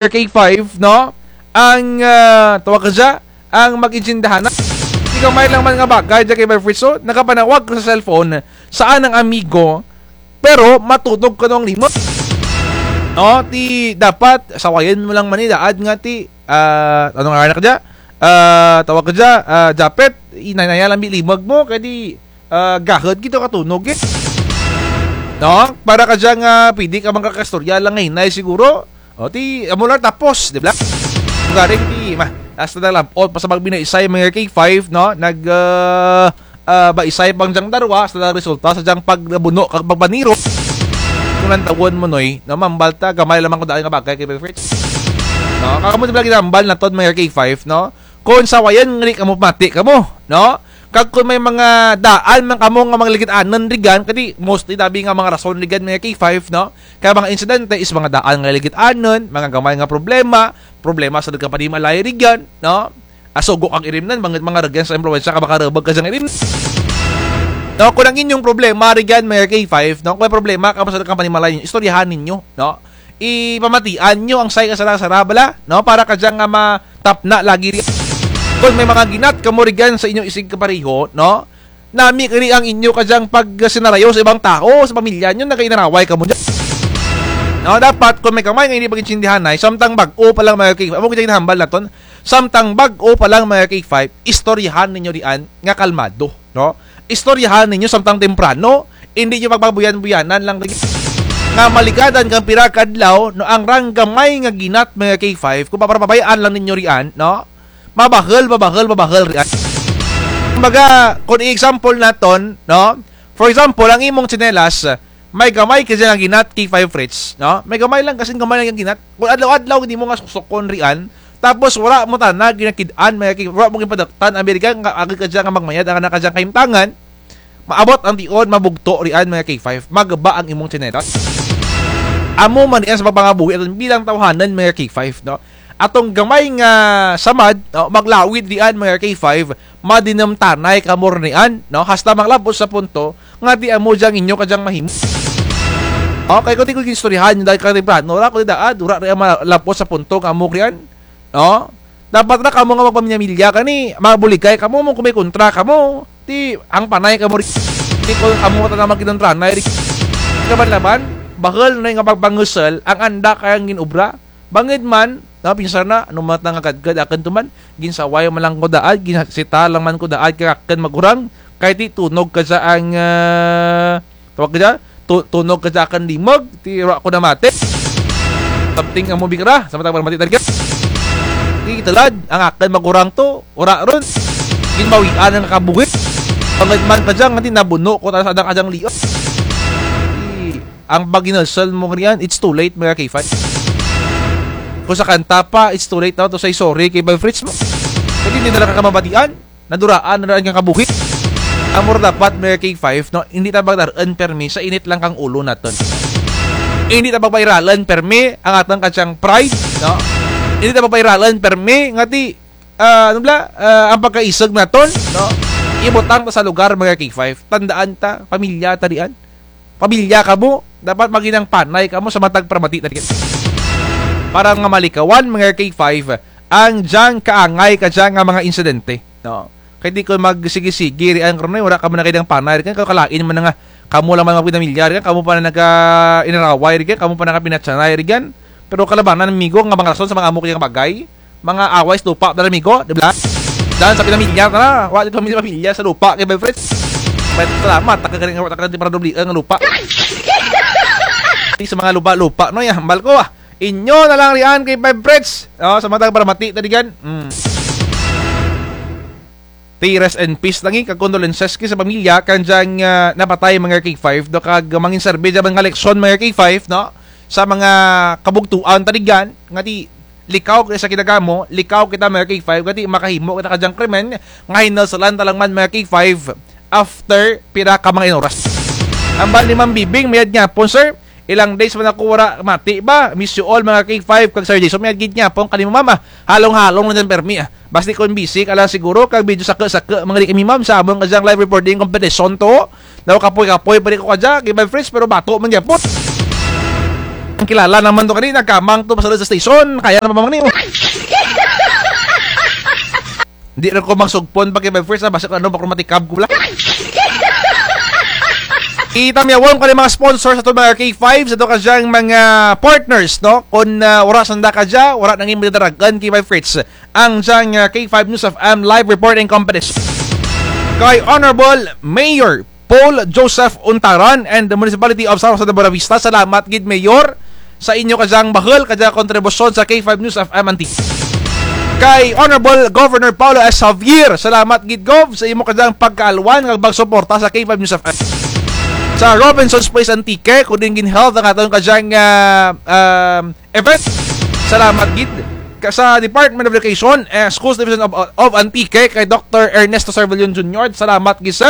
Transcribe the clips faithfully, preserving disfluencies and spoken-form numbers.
K five, no? Ang, ah, tawag kadya, ang mag-intindyahan na. Ti gamay lang man nga bagay dya, K five Fritz, oh. Nakapanawag ka sa cellphone sa anang amigo, pero matunog kuno ang limog. No? Ti dapat, sawayan mo lang man ni daad nga ti, ah, ano nga anak dya? Ah, tawag kadya, ah, Japet, hinay-hinaya lang bi limog mo, kay ti, ah, gahod gid to katunog, eh. No? Para kadya nga pwede ka man kakaistorya lang hinay siguro. O, ti, amo lang tapos, di bala? Garing ti, ma, hasta nalab-ot pa sa pagbinuisay, mga K five, no? Nag, ah, ah, baisay pa dyang darwa, hasta nagresulta sa dyang pagbuno kag pagbaniro. Kon lantawon mo, Noy, no? Mambal ta, gamay lang man kuno daan nga bagay, K five Fritz. No? Kag amo, di bala, ginambal naton, mga K five, no? Kon sawayan nga di kamo pamati kamo, no? Kag kon may mga daan man kamo nga mga ligid-anon rigan, kay ti mostly dabi nga mga rason rigan, mga K five, no? Kay mga insidente is mga daan nga ligid-anon, mga gamay nga problema, problema sa nagkapanimalay rigan, no? Asugo kag irimnan, mga, mga rigan sa impluwensya ka makarebag ka dyang irimnan. No, kon ang inyong problema rigan, mga K five, no? Kon may problema kamo sa nagkapanimalay, istoryahan ninyo, no? Ipamatian nyo ang say kasara-sara bala, no? Para kadya nga matapna lagi ri-. Kon may mga ginat kamo rigan sa inyo isig kapareho, no? Nami kari ang inyo kadyang pagsinarayo sa ibang tao, sa pamilya nyo, nagainaraway kamo dyan. No, dapat, kon may gamay nga indi pag-intindihanay, samtang bag-o pa lang, mga K five, amo kita ginahambal naton, samtang bag-o pa lang, mga K five, istoryahan ninyo rian nga kalmado, no? Istoryahan ninyo samtang temprano, indi nyo pagpabuyan-buyanan lang ri-, nga maligadan kang pira ka adlaw, no, ang rang gamay nga ginat, mga K five, kon papabay-an lang ninyo rian, no? Mabahul, mabahul, mabahul rian. Kumbaga, kon i-example naton, no? For example, ang imong tsinelas, may gamay kadya nga ginat, K five Fritz, no? May gamay lang, kasin gamay lang dyang ginat. Kon adlaw-adlaw gid nimo nga suksukon rian, tapos wara mo tana ginakid-an, mga K-, wara mo ginpadaktan, ang birigan nga agi kadya nga magmayad ang anak kadyang kahimtangan, maabot ang tion, mabugto rian, mga K five. Maguba ang imong tsinelas. Amo man rian sa pagpangabuhi aton bilang tawhanan, mga K five, no? Atong gamay nga samad, no, maglawid rian, mga K five, madinumtanay kamo rian, no? Hasta malab-ot sa punto nga ti amo dyang inyo kadyang mahimo. Okay, kon ti ko ginistoryahan nyo dahil ka temprano ra, kon ti daad, wara rian malab-ot sa punto nga amo rian, no? Dapat ra kamo nga magpamilya-milya kani, mabuligay kamo, mo kon may kontra kamo, ti hangpanay kamo ri-, ti kon amo tana magkinumtanay ri-. Laban-laban, bahul na nga pagpangusol ang anda kayang gin-obra. Bangud man, no, pinsar na, ano man nga gadgad akun to man, ginsaway man lang ko daad, ginsita lang man ko daad, kay akun magurang, kay ti tunog kadya ang, ah, tawag kadya, tu-, tunog kadya akun limog, ti wara ko namati. Something amo bi kara, sa matag pamati talaga. Ti tulad, ang akun magurang to, wara run. Ginbawian ang kabuhi. Bangud man kadya, nga ti nabuno ko tana sa andang kadyang liog. Ti, ang paghinusol mo rian, it's too late, mga K five. Kon sa kanta pa, it's too late na to say sorry kay Boy Fritz mo. Kay ti indi na lang ka mabatian, naduraan na lang kang kabuhi. Amo ra dapat, mga K five, no? Indi ta pagdar-un permi sa init lang kang ulo natun. Indi ta pagbairalun permi ang atun kadyang pride, no? Indi ta pagbairalun permi nga ti, ah, ano bala, ah, ang pagkaisug natun, no? Ibutang ta sa lugar, mga K five. Tandaan ta, pamilya ta rian. Pamilya kamo, dapat maghinang panay kamo sa matag pamati ta rian. Para nga malikawan, mga K five, ang dyang kaangay kadya nga mga insidente, no? Kay ti kon magsigi-sigi rian karon ay, wara kamo nakahinang panay rian, kay kalain man na nga kamo lang man magpinamilya rian, kamo pa na nagainaraway rian, kamo pa nagapinatyanay rian. Pero kalabanan, amigo, nga mga rason sa mga amo kaya nga bagay, mga away sa lupa, dala, amigo, di bala? Daan sa pinamilya, tara. Wa, dito pamilya, pamilya sa lupa, kay Boy Fritz. May salamat, taka galing, taka galing para doble ang lupa. Di sa mga lupa-lupa, no, ya, hambal ko, ah. Inyo na lang rian kay Boy Fritz. Oh, sa matag pamati ta rian. Mm. Ti rest in peace lang, eh, kag condolences ki sa pamilya, kang dyang, ah, napatay, mga K five, no, kag mangin serbi dyan nga leksyon, mga K five, no, sa mga kabugtuan ta rian, nga ti, likaw kita sa kinagamo, likaw kita, mga K five, nga ti makahimo kita kadyang krimen, nga hinusulan ta lang man, mga K five, after pira ka mga inoras. Hambal ni Ma'am Bibing, mayad nga hapon, sir. Ilang days man ako wara mati ba? Miss you all, mga K five, kag Sir Jason, mayad gid nga hapon kanimo, ma'am, ah. Halong-halong lang dyan permi, ah. Basi kon busy ka lang siguro, kag medyo saku-saku, mga di kami, ma'am, sa amon kadyang live reporting competition to. Daw kapoy-kapoy pa rin ko kadya, kay Boy Fritz, pero bato man gyapon. Ang Kilala naman to kani, nagkamang to, pasulod sa station, kaya naman ni. Hindi rin ko magsugpon pa kay Five Fritz, ah, basta kung ano, baka matikab ko lang. Itamyawon ko ni mga sponsors sa to mga K five, sa to kadyang mga partners, no? Kung, ah, wara sanda kadya, wara nangin madadaragan kay Five Fritz. Ang dyang, ah, K five News F M live reporting competition. Kay Honorable Mayor Paul Joseph Untaran and the Municipality of San Jose de Buenavista. Salamat gid, Mayor, sa inyo kadyang bahul, kadya kontribusyon sa K five News F M Antique. Kay Honorable Governor Paolo S. Javier, salamat gid, Gov, sa imo kadyang pagkaalwan kag pagsuporta sa K five News F M. Sa Robinson's Place Antique, kung diin ginheld ang atong kadyang, ah, um, event. Salamat gid. Ka-, sa Department of Education, eh, Schools Division of, of Antique, kay Doktor Ernesto Cervellon Junior, salamat gid, sir.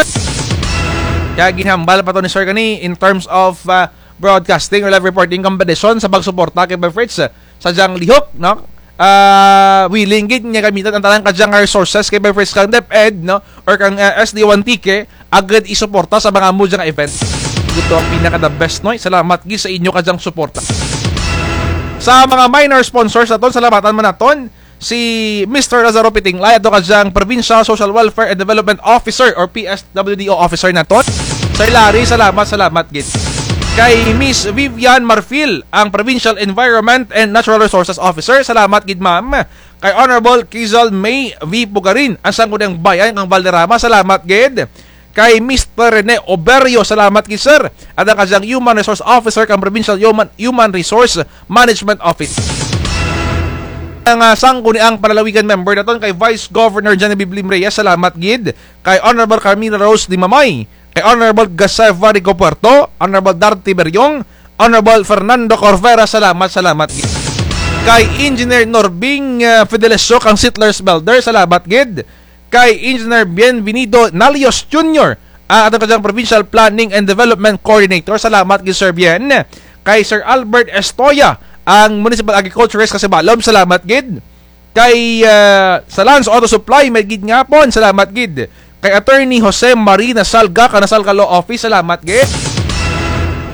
Kaya ginhambal pa to ni sir kani in terms of, ah, broadcasting or live reporting competition sa pagsuporta kay Five Fritz, eh, sa dyang lihok, no? Ah, willing gid nga gamitan ang tanan kadyang resources kay Five Fritz kang DepEd, no? Or kang, ah, S D O Antique, agad isuporta sa mga amo dyang event. Ito ang pinaka the best, no? Salamat gid sa inyo kadyang suporta. Sa mga minor sponsors naton, salamatan man naton si Mister Lazaro Pitinglay, ato kadyang Provincial Social Welfare and Development Officer or P S W D O Officer naton. Sir Larry, salamat, salamat gid. Kay Miss Vivian Marfil, ang Provincial Environment and Natural Resources Officer, salamat gid, ma'am. Kay Honorable Kizal May V Pugarin, ang Sangguniang Bayan kang Valderrama, salamat gid. Kay Mister Rene Oberio, salamat gid, sir. At ang kadyang Human Resource Officer kang Provincial Human, Human Resource Management Office. Ang, ah, Sangguniang Panlalawigan member naton kay Vice Governor Genevieve Lim Reyes, salamat gid. Kay Honorable Carmina Rose Limamay, kay Honorable Gaseva Rico Puerto, Honorable Darty Beriong, Honorable Fernando Corvera, salamat, salamat gid. Kay Engineer Norbing, ah, Fidelesio kang Sittler's Builder, salamat gid. Kay Engineer Bienvenido Nalios Junior, ah, atong kadyang Provincial Planning and Development Coordinator, salamat gid, Sir Bien. Kay Sir Albert Estoya, ang Municipal Agriculturist kang Sibalom, salamat gid. Kay, ah, sa Lance Auto Supply, mayad gid nga hapon, salamat gid. Kay Attorney Jose Marie Nasalga, kang Nasalga Law Office, salamat gid.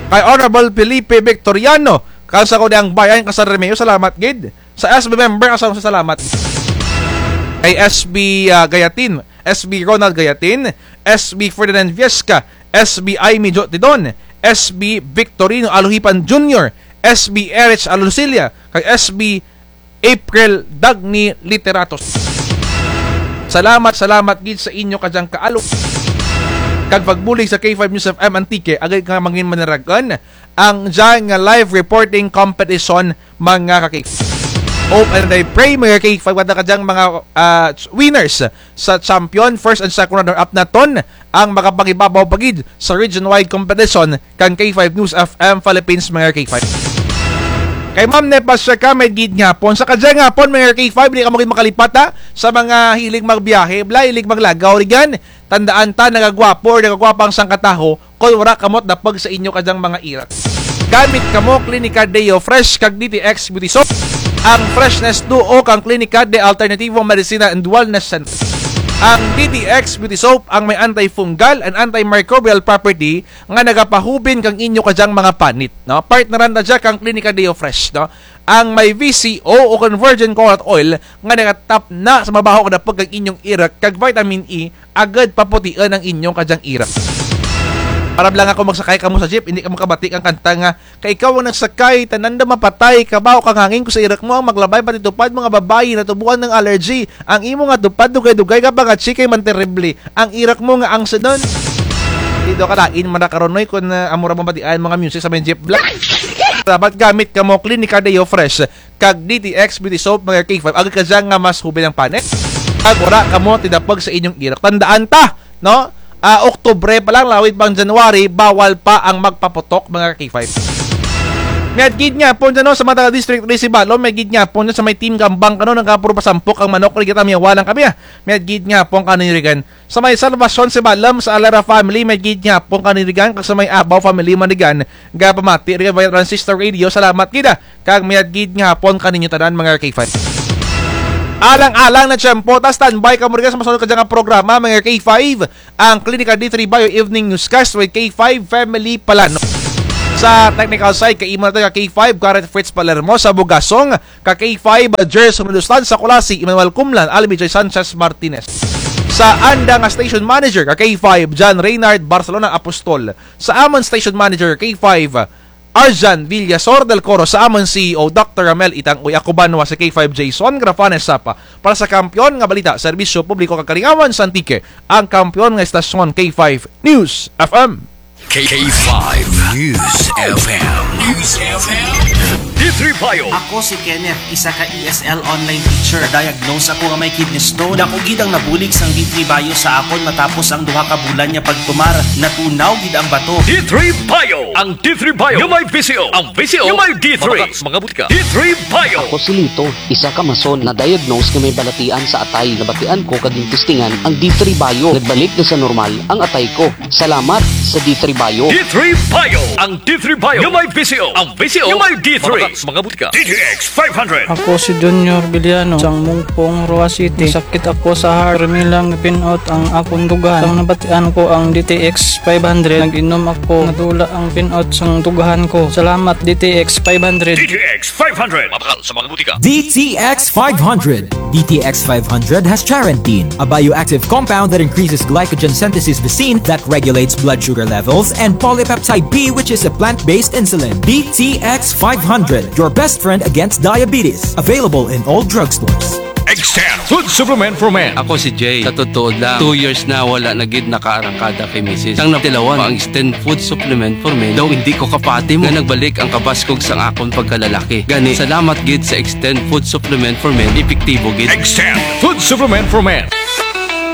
Kay Honorable Felipe Victoriano, kang Sangguniang Bayan kang San Remigio, salamat gid. Sa S B member, kang San Jose, salamat. Kay S B, ah, Gayatin, S B Ronald Gayatin, S B Ferdinand Viesca, S B Aimee Jo Tidon, S B Victorino Aluhipan Junior, S B Erich Alusilia, kag S B April Dagny Literatos. Salamat, salamat gid sa inyo kadyang kaalwan kag pagbulig sa K five News F M Antique, agad nga mangin manarag-an ang dyang nga live reporting competition, mga ka-K five. Hope and I pray, mga ka-K five, wala kadyang mga, ah, winners sa champion, first and second runner-up naton, ang makapangibabaw pa gid sa region-wide competition kang K five News F M Philippines, mga ka-K five. Kay Ma'am Nepa Shaka, mayad gid nga hapon. Sa kadyang hapon, mga ka-K five, di kamo gid makalipat, ha, sa mga hilig magbiyahe, bala, hilig maglagaw, rugyan. Tandaan ta, nagagwapo or nagagwapa ang sangka tawo kon wara kamo dapug sa inyo kadyang mga irak. Gamit kamo Clinica Deo Fresh kag D T X Beauty Soap. Ang freshness duo kang Clinica de Alternativo Medicina and Wellness Center. Ang D T X Beauty Soap ang may antifungal and antimicrobial property nga nagapahubin kang inyo kadyang mga panit, no? Partneran na dya kang Clinica Deo Fresh, no? Ang may V C O o kon virgin coconut oil nga nagatapna sa mabaho nga dapug kang inyong irak kag vitamin E agud paputiun ang inyong kadyang irak. Para bala nga kon magsakay kamo sa jeep, indi kamo kabati kang kanta nga, "Kay ikaw ang nagsakay, tanan daw mapatay, kabaho kang hangin ko sa irak mo ang maglabay, pati tupad mga babayi, natubuan ng allergy, ang imo nga tupad, dugay-dugay ka pa nga, chikay man terrible, ang irak mo nga ang sunon." Di daw kalain man ra karon, oy, kon, ah, amo ra mabatian mga music sa may jeep bala. Dapat gamit kamo Clinica Deo Fresh kag D T X Beauty Soap, mga ka-K five, agud kadya nga mas hubin ang panit. Kag wara kamo tidapug sa inyong irak. Tandaan ta, no? Ah, Oktubre pa lang, lawid pang January, bawal pa ang magpaputok, mga ka-K five. Mayad gid nga hapon dyan, no, sa mga taga District three Sibalom, mayad gid nga hapon dyan sa may Team Gambang, kano, nagapuro pasampok ang manok, rugyan, tamyawa lang kami, ah. Mayad gid nga hapon kaninyo rugyan. Sa may Salvacion Sibalom, sa Alera family, mayad gid nga hapon kaninyo rugyan, kag sa may Abaw family man rugyan, gapamati rugyan via transistor radio, salamat gid, ah. Kag mayad gid nga hapon kaninyo tanan, mga ka-K five. Alang-alang na tiyempo ta, standby kamo rugyan sa masunod kadya nga programa, mga ka-K five, ang Klinika D three Bio Evening Newscast with K five Family Palano. Sa technical side, kaimaw natun ka K five, Garrett Fritz Palermo, sa Bugasong, ka K five, Gerson Medustan, sa Culasi, Emmanuel Cumlan, Almi Joy Sanchez Martinez. Sa anda nga station manager, ka K five, John Reynard Barcelona Apostol. Sa amun station manager, K five, Arjan Villasor del Coro, sa amun C E O, Doctor Ramel Itang, uy, ako banwa si K five Jason Grafanes Sapa. Para sa Kampiyon nga Balita, Serbisyo Publiko kag Kalingawan sa Antique, ang kampiyon nga estasyon, K five News F M. K five News F M. News F M. D three Bio. Ako si Kenneth, isa ka E S L online teacher. Diagnose ako nga may kidney stone. Dako gid ang nabulig sang D three Bio sa akon matapos ang duha ka bulan nga pagtumar. Natunaw gid ang bato. D three Bio. Ang D three Bio nga may V C O. Ang V C O nga may D three. Mabakal sa mga butika. D three Bio. Ako si Lito, isa ka mason, na-diagnose nga may balatian sa atay. Nabatian ko kag gintestingan ang D three Bio. Nagbalik na sa normal ang atay ko. Salamat sa D three Bio. D three Bio. Ang D three Bio nga may V C O. Ang V C O nga may D three. Mabakal sa mga butika. D T X five hundred. Ako si Junior Villano, sang Mungpong, Roxas City. Sakit ako sa heart. Pirmi lang pin-out ang akon dughan. Sang nabatian ko ang D T X five hundred, nag-inom ako. Nadula ang pin-out sang dughan ko. Salamat, D T X five hundred. D T X five hundred. Mabakal sa mga butika. D T X five hundred. D T X five hundred has charantine, a bioactive compound that increases glycogen synthesis vacin that regulates blood sugar levels, and polypeptide B, which is a plant-based insulin. D T X five hundred, your best friend against diabetes. Available in all drugstores. Extend Food Supplement for Men. Ako si Jay. Sa totoo lang, two years na wala na gid nakaarangkada kay misis. Sang natilawan ko ang Extend Food Supplement for Men, daw indi ko kapati mo nga nagbalik ang kabaskog sang akon pagkalalaki. Gani, salamat gid sa Extend Food Supplement for Men, epektibo gid. Extend Food Supplement for Men.